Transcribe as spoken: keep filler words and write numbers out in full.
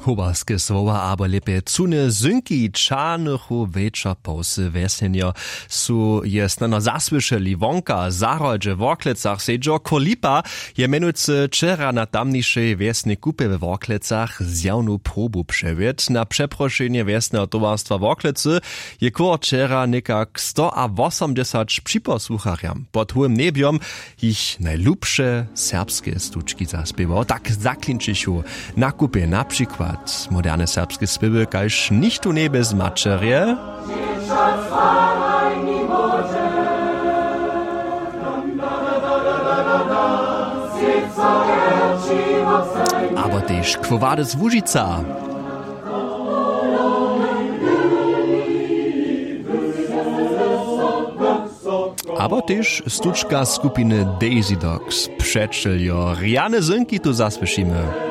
Howarske słowa abo lěpje cune zynki čarnychu wječor połsy wjesnjenjo su je snano zasłyšeli wonka w zahrodźe w worklecach sedźo kór lipa. Je mjenujcy wčera na tamnišej wjesnej kupje we worklecach zjawnu probu přewěd na přeprošenje wjesneho towarstwa worklecy je kór wčera někak stoawosomdźesać připosłucharjam pod hołym njebjom jich najlubše serbske stučki zaspěwał. Tak zaklinčichu na kupje na přikład moderne serbske spěwy kaž nichtó njebje z maćerje. Abo tež kwowadys łužica. Abo tež stučka skupiny daisy dogs přećeljo rjane zynki tu zasłyšimy.